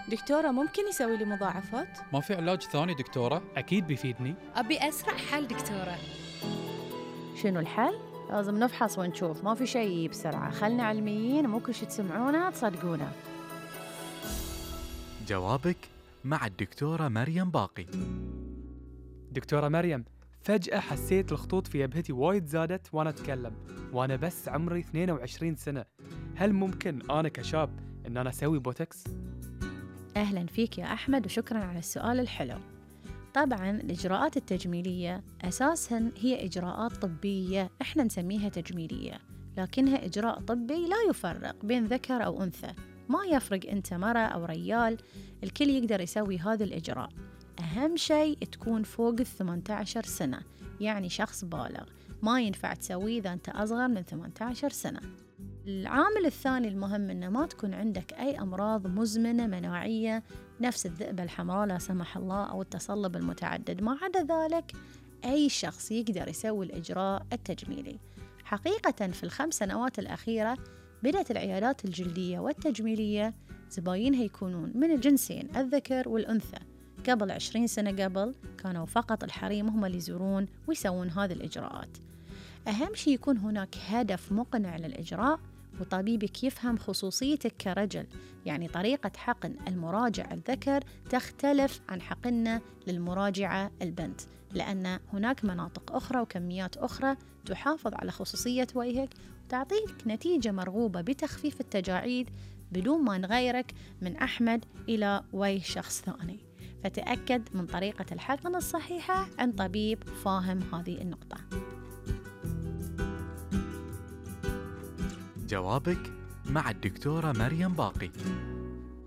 دكتورة، ممكن يسوي لي مضاعفات؟ ما في علاج ثاني دكتورة؟ أكيد بيفيدني. أبي أسرع حل دكتورة. شنو الحل؟ لازم نفحص ونشوف، ما في شيء بسرعة. خلنا علميين، مو كل شي تسمعونه تصدقونه. جوابك مع الدكتورة مريم باقي. دكتورة مريم، فجأة حسيت الخطوط في جبهتي وايد زادت وأنا أتكلم، وأنا بس عمري 22 سنة. هل ممكن أنا كشاب إن أنا أسوي بوتوكس؟ أهلاً فيك يا أحمد، وشكراً على السؤال الحلو. طبعاً الإجراءات التجميلية أساساً هي إجراءات طبية إحنا نسميها تجميلية، لكنها إجراء طبي لا يفرق بين ذكر أو أنثى. ما يفرق أنت مرة أو ريال، الكل يقدر يسوي هذا الإجراء. أهم شيء تكون فوق 18 سنة، يعني شخص بالغ. ما ينفع تسويه إذا أنت أصغر من 18 سنة. العامل الثاني المهم إنه ما تكون عندك أي أمراض مزمنة مناعية نفس الذئبة الحمراء لا سمح الله أو التصلب المتعدد. ما عدا ذلك أي شخص يقدر يسوي الإجراء التجميلي. حقيقة في ال5 سنوات الأخيرة بدأت العيادات الجلدية والتجميلية زباينها يكونون من الجنسين الذكر والأنثى. قبل 20 سنة قبل كانوا فقط الحريم هم اللي يزورون ويسوون هذه الإجراءات. أهم شيء يكون هناك هدف مقنع للإجراء، وطبيبك يفهم خصوصيتك كرجل. يعني طريقة حقن المراجع الذكر تختلف عن حقننا للمراجعة البنت، لأن هناك مناطق أخرى وكميات أخرى تحافظ على خصوصية وجهك وتعطيك نتيجة مرغوبة بتخفيف التجاعيد بدون ما نغيرك من أحمد إلى وجه شخص ثاني. فتأكد من طريقة الحقن الصحيحة عند طبيب فاهم هذه النقطة. جوابك مع الدكتورة مريم باقي.